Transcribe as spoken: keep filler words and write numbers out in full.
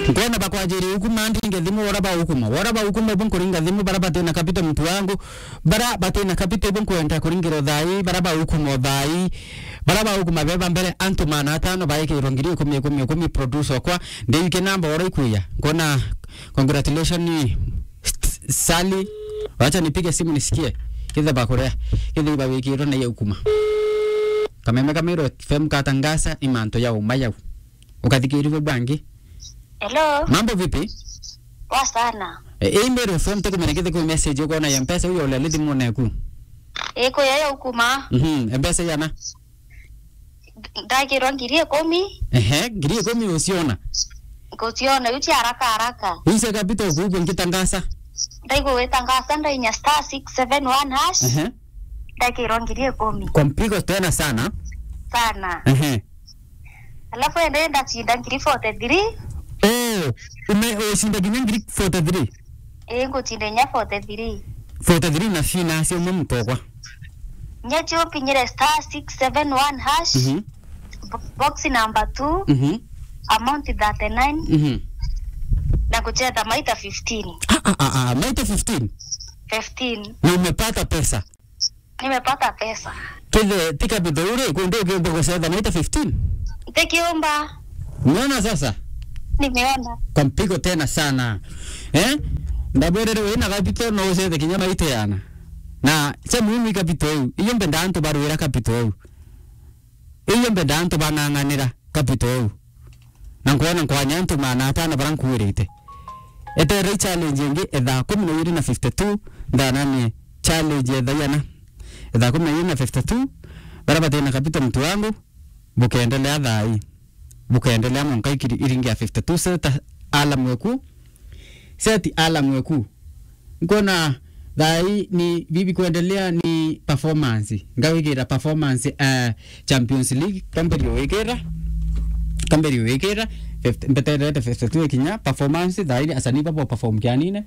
Nkona bakwajirie ukuma, ndinge thimu, wora ba ukuma. Wora ba ukuma, ibo nkuringa thimu, bara batina capital, mtu wangu. Bara batina capital, ibo nkwenda kuringira uthai, bara ba ukuma uthai. Bara ba ukuma beba mbere, antu maana atano baikirwo ngiri ikumi, ikumi, ikumi, producer okwa. Ndike namba wora ikuya. Nkona, congratulations, Sally. Wacha nipige simu nisikie. Kithe bakurea. Kithe iba wikirwo na ya ukuma. Kameme ka Meru F M katangasa, imanto ya uma yau. Ukathikirwe bwangi. Hello. Mambo vipi? Poa sana. E, e, Meru F M tukumenya kithe ku message ukona ya mpesa uyo ulele thimu neku. E, kuya ya ukuma. Mhm, mpesa yana? Ndakirwa ngiri ikumi. Ehe, ngiri ikumi uciona? Nguciona, yu cia haraka haraka. Ise kapita ukuigua ngitangasa? Ndaigua witangasa, ndainya star six seven one hash. Ehe. Ndakirwa ngiri ikumi. Kwa mpigo tena sana. Sana. Ehe. Alafu ende ndacinda ngiri forty-three. Oh, ume-, ucinda nginya ngiri forty-three? Ii, ngucinda inya forty-three. Forty-three na cina cia umwe mutokwa. Nya cio mpinyire star six seven one hash. Mhm. Bo-, box number two. Mhm. Amount thirty-nine. Mhm. Na kucheza maita fifteen. Ah, ah, ah, ah, maita fifteen? Fifteen. Na umepata pesa? Nimepata pesa. Kithe ti capital uri, kundu ukiumba gucetha maita fifteen? Ntikiumba. Umeona sasa? Nimeona. Kwa mpigo tena sana. Eh? Ndabwerere wina capital no ucethe kinya maita yana. Na cha muhimu i capital iu. Iyo mbenda antu barwira capital iu. Iyo mbenda antu bang'ang'anira capital iu. Na nkwona nkwanya antu maana atano bara nkuirite. Eterera i challenge ingi ethaa kumi na iri na fifty-two, ndananie challenge ethaa iana. Ethaa kumi na iri na fifty-two, bara batina capital mtu wangu, bukendelea thaa ii. Bukendelea mwanka ikiri iringi ya fifty-two, seta alarm eku. Seti alarm eku. Nkona thaa ii ni bibi kuendelea ni performance. Ngawigira performance, eh, Champions League, kamberio wikira. Kamberio wikira. fifty, mbeterete fifty-two ikinya. Performance, thaa ii asanii babo perform kianine.